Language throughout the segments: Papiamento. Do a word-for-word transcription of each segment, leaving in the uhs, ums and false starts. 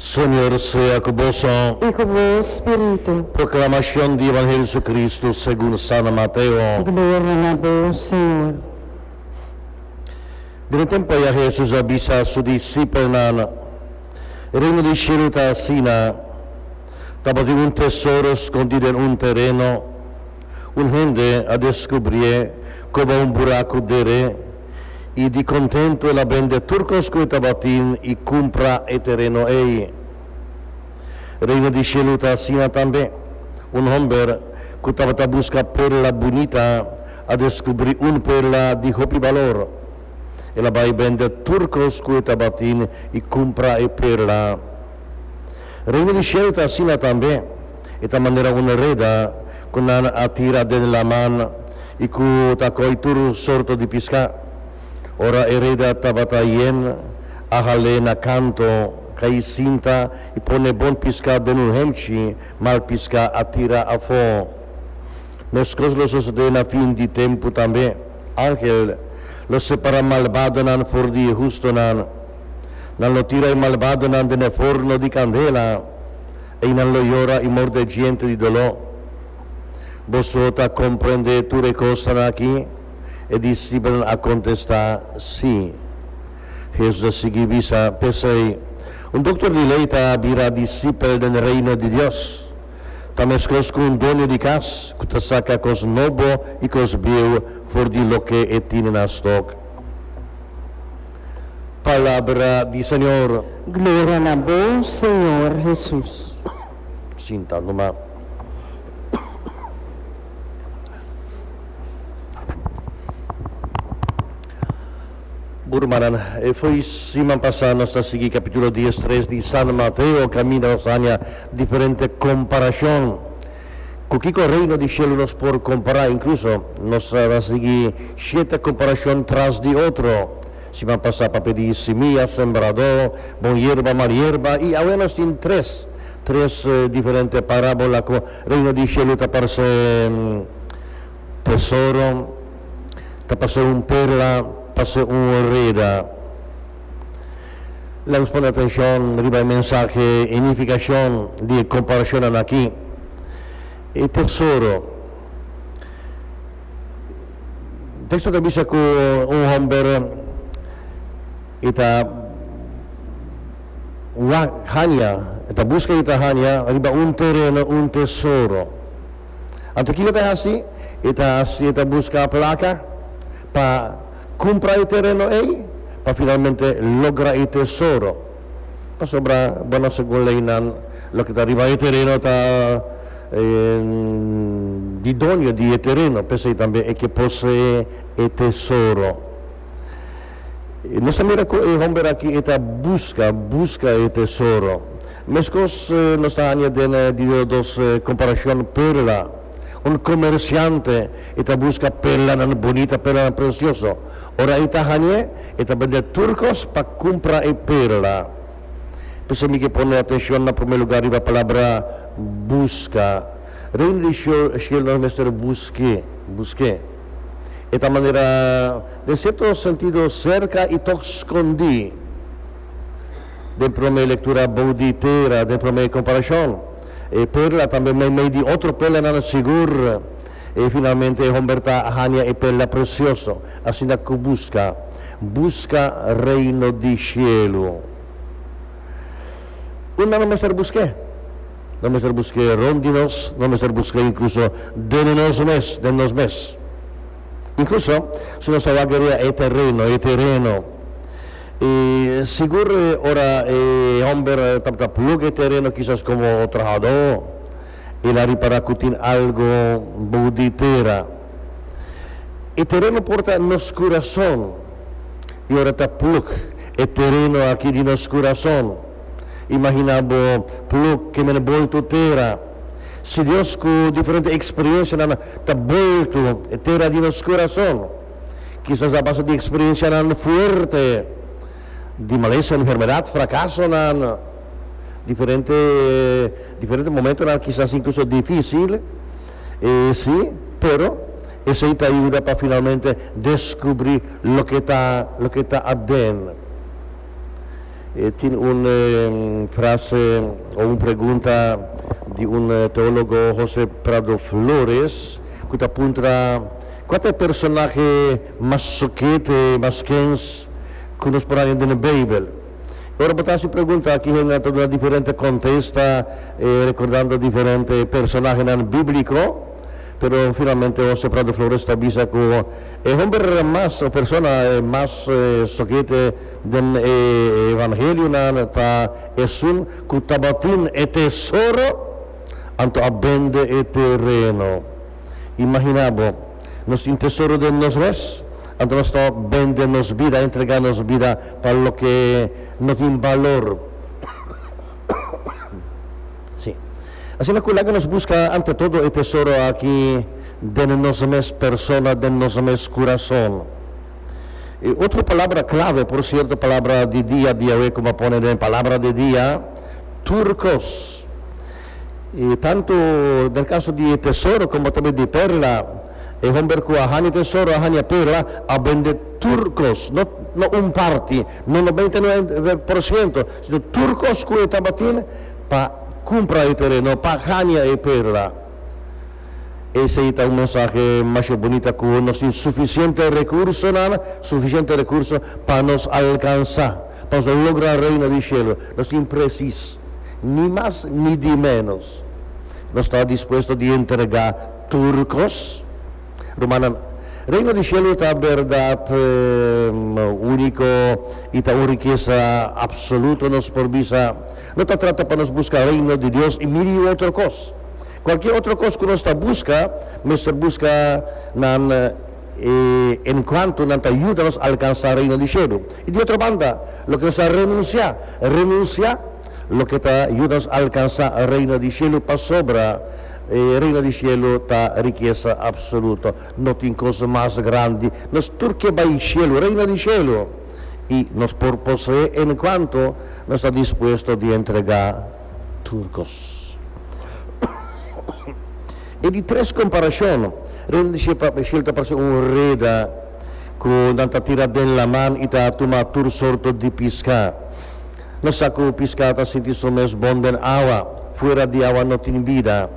Señor sea ku boso. I ku bo spiritu. Proklamashon di Evangelio di Jesucristo segun San Mateo. Gloria na bo, Señor. Den e tempu ei Hesus a bisa su disipelnan: E reino di shelu ta asina, tabatin un tesoro skondí den un tereno. Un hende a deskubrié, koba un buraku der'é, i di kontentu el a bende tur kos ku e tabatin i kumpra e tereno ei. Reino di shelu ta asina tambe. Un hòmber ku tabata buska perla bunita a deskubrí un perla di hopi balor. El a bai bende tur kos ku e tabatin i kumpra e perla. Reino di shelu ta asina tambe. E ta manera un reda ku nan a tira den laman i ku ta koi tur sorto di piská. Ora e reda tabata yen, a hal'é na kanto, kai sinta i pone bon piská den un hemchi, mal piská a tira afó. Meskos lo sosodé na fin di tempu tambe. Angel lo separá malbadonan for di e hustonan. Nan lo tira e malbadonan den e forno di kandela. Einan lo yora i morde djente di doló. Boso ta komprendé tur e kosnan akí? E disipelnan a kontestá, Sí. Hesus a sigui bisa, P'esei, un doktor di lei ta bira disipel den Reino di Dios. Ta meskos ku un doño di kas ku ta saka kos nobo i kos bieu for di loke e tine na stok. Palabra di Señor. Gloria na bo, Señor Hesus. Sinta numa. Bo rumannan, e fo'i siman pasá nos ta sigui kapítulo diestres di San Mateo kaminda nos ta haña diferente komparashon. Ku kiko Reino di Shelu nos por kompará? Inkluso nos ta sigui shete komparashon tras di otro. Siman pasá papia di simia, sembradó, bon yerba, mal yerba i awe nos tin tres, tres diferente parábola ku Reino di Shelu ta parse tesoro, ta parse un perla, parse un reda. Laga nos pone atenshon riba e mensahe i nifikashon di e komparashonnan aki. E tesoro. Teksto ta bisa ku un hòmber e ta wak haña, e ta buska i ta haña riba un tereno un tesoro. Anto kiko ta hasi? E ta hasi, e ta buska plaka pa kumpra e tereno ei, pa finalmente logra e tesoro. Pasobra, bueno, segun leinan, loke ta riba e tereno ta di doño di e tereno, p'esei tambe e ke posee e tesoro. Nos ta mira ku e hòmber aki e ta buska, buska e tesoro. Meskos nos ta haña den di dos komparashon perla. Un komersiante e ta buska perlanan bunita, perlanan presioso. Ora e ta hañ'é, e ta bende tur kos pa kumpra e perla. P'esei mi ke pone atenshon na promé lugá riba palabra buska. Reino di shelu nos mester busk'é, busk'é. E ta manera, den sierto sentido, serka i tòg skondí. Den promé lektura bou di tera, den promé komparashon, e perla tambe meimei di otro perlanan sigur. I finalmente e homber ta haña e perla presioso. Asina ku buska, buska Reino di Shelu. Unda no mester busk'é? No mester busk'é rond di nos, no mester busk'é inkluso den nos mes, den nos mes. Inkluso si nos ta wak riba e tereno, e tereno. I sigur ora e homber tabata plug e tereno kisas komo trahadó, el a ripará ku tin algu bou di tera. E tereno por ta nos kurason. I ora ta plug e tereno aki di nos kurason, imaginá bo plug ke men boltu tera. Si Dios ku diferente eksperensianan ta boltu e tera di nos kurason, kisas a base di eksperensianan fuerte, di malesa, enfermedat, frakasonan, diferente diferente momentonan kisas inkluso difísil, e sí, pero esei ta yuda pa finalmente deskubrí loke ta loke ta aden. Eh, tin un eh, frase o un pregunta di un eh, teólogo, José Prado Flores, ku ta puntra kua ta e personahe mas sokete, mas kens ku nos por haña den Beibel. Ora bo ta hasi pregunta aki, hende ta duna diferente kontesta, eh, rekordando diferente personahenan bíbliko, pero finalmente José Prado Flores ta bisa ku e hòmber mas, o persona eh, mas eh, sokete den eh, evangelionan ta esun ku tabatin e tesoro anto a bende e tereno. Imaginá bo, nos tin tesoro den nos mes, anto nos ta bende nos bida, entregá nos bida pa loke no tin balor. Sí. Asina ku laga nos buska ante todo e tesoro aki den nos mes persona, den nos mes kurason. I otro palabra klave, por sierto, palabra di dia, dia komo pone den palabra di dia, tur kos. I tantu den kaso di tesoro komo tambe di perla, e hòmber ku a haña tesoro, a haña perla, a bende tur kos, no, no un parti, no nobenta i nuebe porshento, sino tur kos ku e tabatin pa kumpra e tereno, pa haña e perla. Esei ta un mensahe mas bunita, ku nos tin sufisiente rekurso, nada, sufisiente rekurso pa nos alkansá, pa nos logra reino di shelu. Nos tin presis, ni mas ni di ménos. Nos ta dispuesto di entregá tur kos. Rumannan, reino di shelu ta berdat eh, úniko i ta un rikesa absoluto nos por bisa. No ta trata pa nos buska reino di Dios i mil otro kos. Kualke otro kos ku nos ta buska, mester buska nan eh, en kuanto nan ta yuda nos alkansá reino di shelu. I di otro banda, loke nos ta renunsiá, renunsiá loke ta yuda nos alkansá reino di shelu, pasobra eh, reino di shelu ta rikesa absoluto. No tin kos mas grandi. Nos tur ke bai shelu, reino di shelu. I nos por poseé en kuanto nos ta dispuesto di entregá tur kos. I di tres komparashon, reino di shelu ta parse un reda ku nan ta tira den laman i ta tuma tur sorto di piská. Nos sa ku piská ta sinti su mes bon den awa, fuera di awa no tin bida.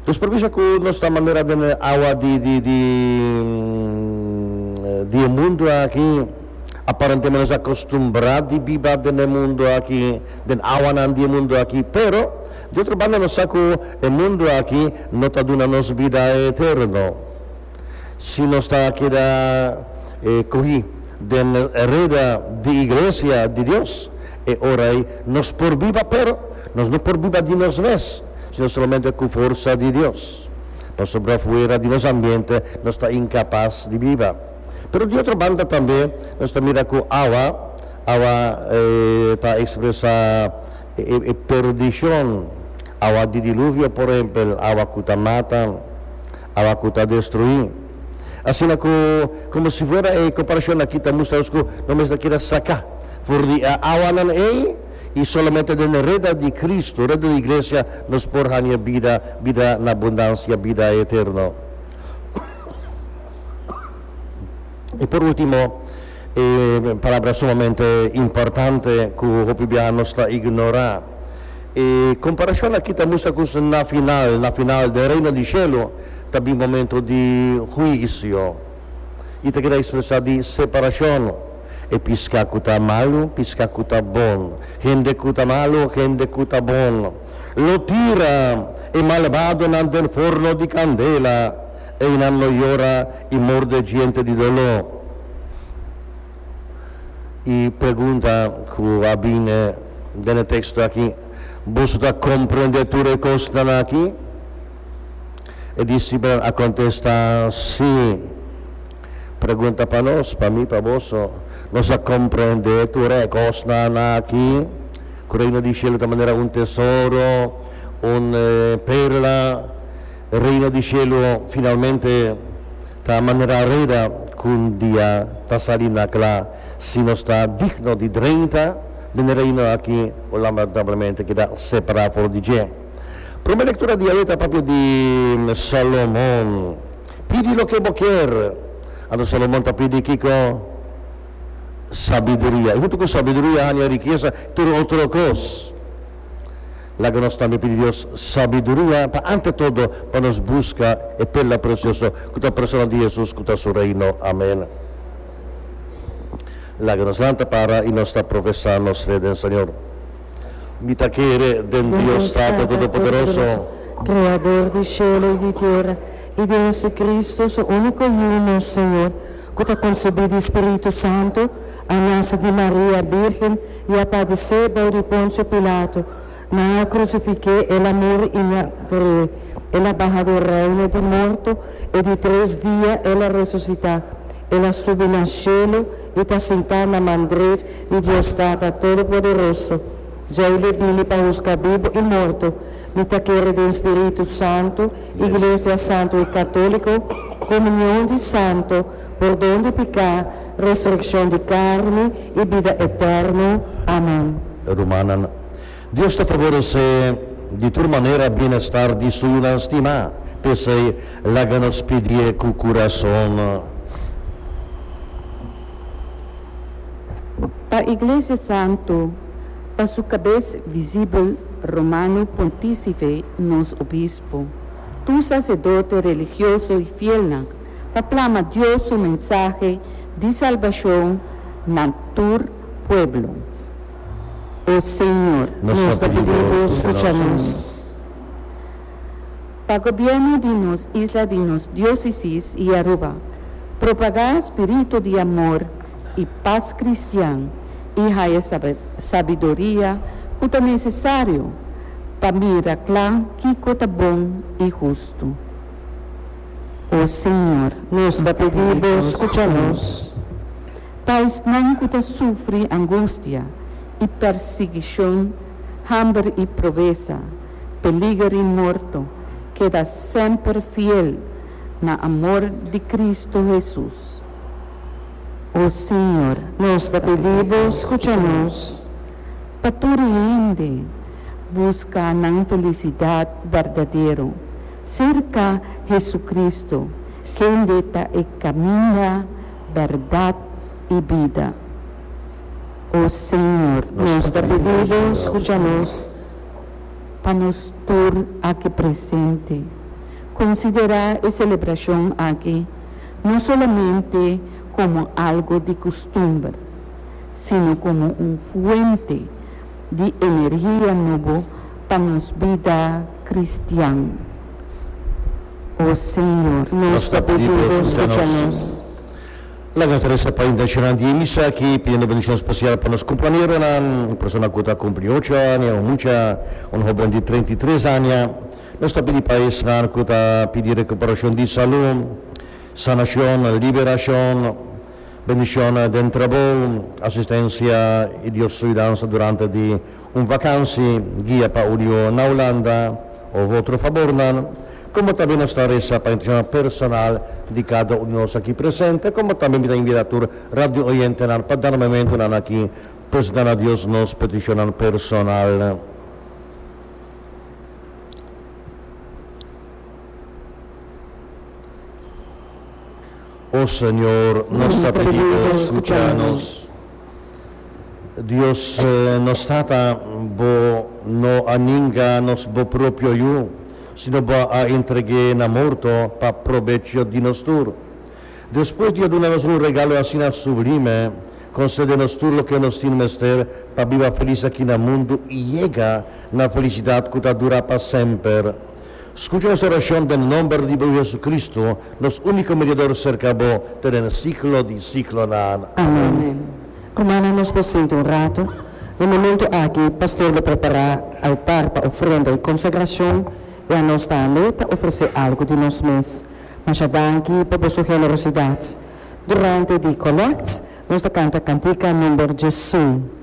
Nos por bisa ku nos ta manera den awa di di di di mundu aki, aparentemente nos a akustumbrá di biba den mundu aki, den awanan di mundu aki, pero di otro banda nos sa ku e mundu aki no ta duna nos bida eterno. Si nos ta keda eh, kohí den reda di iglesia di Dios, e ora ei nos por biba, pero nos no por biba di nos mes, sino solamente ku forsa di Dios. Pasobra fuera di nos ambiente nos ta inkapas di biba. Pero di otro banda tambe nos ta mira ku awa, awa eh, ta ekspresá e, e, perdishon, awa di diluvio, por ehèmpel, awa ku ta mata, awa ku ta destruí. Asina ku, komo si fuera e komparashon aki ta mustra ku nos mester keda saká for di awanan ei i solamente den reda di Kristu, reda di iglesia, nos por haña bida, bida na abundansia, bida eterno. I por último, eh, palabra sumamente importante ku hopi biaha nos ta ignorá. E komparashon aki ta mustra ku na final, na final di reino di shelu, ta bin momento di huisio. I ta keda ekspresá di separashon. E piská ku ta malu, piská ku ta bon. Hende ku ta malu, hende ku ta bon. Lo tira e malbadonan den forno di kandela, einan lo yora i morde djente di doló. I pregunta ku a bin den teksto aki: "Boso ta komprondé tur e kosnan aki?" E disipelnan a kontestá: "Sí." Pregunta pa nos, pa mi, pa boso. Nos a komprondé tur e kosnan aki? Ku reino di shelu ta manera un tesoro, un eh, perla. Reino di shelu finalmente ta manera reda ku un dia ta sali na kla si nos ta digno di drenta den reino aki o lamentablemente keda separá for di dje. Promé lektura di awe ta papia di Salomon. "Pidi loke bo ke." Anto Salomon ta pidi kiko? Sabiduria. I huntu ku sabiduria, haña rikesa, tur otro kos. Laga nos tambe pidi Dios sabiduria pa ante todo pa nos buska e perla presioso ku ta persona di Hesus, ku ta su reino. Amèn. Laga nos lanta para i nos ta profesá nos fe den Señor. Mi ta kere den Dios Tata Todopoderoso, Kreador di shelu i di tera, i di Hesukristu, su úniko Yu, nos Señor, ku ta konsebí di Spiritu Santu, a nase di Maria Bírgen i a padesé bou di Ponsio Pilato, nan a krusifik'é, el a muri i nan a der'é, el a baha den reino di morto, e di tres dia el a resusitá, el a subi na shelu i ta sintá na man drech di Dios Tata Todopoderoso. Djei lo bini pa husga bibu i morto. Mi ta kere den Spiritu Santu, Iglesia Santu i Katóliko, komunion di santu, pordon di piká, resurekshon di karni i bida eterno. Amèn. Rumannan, Dios ta favoresé di tur manera bienestar di su yunan stimá. P'esei, laga nos pidié ku kurason. Pa Iglesia Santu, pa su kabes visibel Romano Pontícife nos Obispo, tur sacerdote religioso y fielnan, pa plama Dios su mensahe di salbacion na tur pueblo. O Señor, Nos Nos ta ta pidi pidi Bo, Bo, skucha skucha nos. nos. Pa gobierno di nos isla di nos diócesis y Aruba, propaga spirito di amor y paz cristian y haya sabiduria cu ta necesario pa mira cla kico ta bon y husto. O Señor, Nos ta pidi Bo, skucha nos. Pa esnan cu ta sufri angustia y persiguicion, hamber y pobresa, peliger y morto, keda semper fiel na amor di Cristo Jesus. O Señor, Nos ta pidi Bo, skucha nos. Pa tur hende buska nan felisidat berdadero serka Jesucristo, kende ta e kaminda, bèrdat i bida. O Señor, Nos ta pidi Bo, skucha nos. Pa nos tur aki presente, konsiderá e selebrashon aki no solamente komo algu di kustumber, sino komo un fuente di energia nobo pa nos bida kristian. O Señor, Nos ta pidi Bo, skucha nos. Laga nos resa pa intenshonnan di e misa aki, pidiendo bendishon spesial pa nos kumpañeronan, un persona ku ta kumpli ocho aña, un mucha, un hóben di treinta i tres aña. Nos ta pidi pa esnan ku ta pidi rekuperashon di salú, sanashon, liberashon, bendishon den trabou, asistensia i Dios su yudansa durante di un vakansi, guia pa union na Hulanda òf otro fabornan. Komo tambe nos ta resa pa intenshonnan personal di kada un di nos aki presente, komo tambe mi ta invitá tur radio oyentenan pa dana momentunan aki presentá na Dios nos petishonnan personal. O Señor, nos ta pidi Bo, skucha nos. Dios nos Tata, Bo no a ninga nos Bo propio Yu, sino Bo a entreg'é na morto pa probecho di nos tur. Despues di a duna nos un regalo asina sublime, konsede nos tur loke nos tin mester pa biba felis aki na mundu i yega na felisidat ku ta dura pa semper. Skucha nos orashon den nomber di bo Yu Jesucristo, nos úniko mediador serka bo te den siglo di siglonan. Amen. Rumannan, nos por sinta un ratu. Na momento aki pastor lo prepará altar pa ofrenda i konsagrashon, i anos tambe ta ofresé algu di nos mes. Masha danki pa boso generosidat. Durante di kolèkt nos ta kanta kantika number djesun.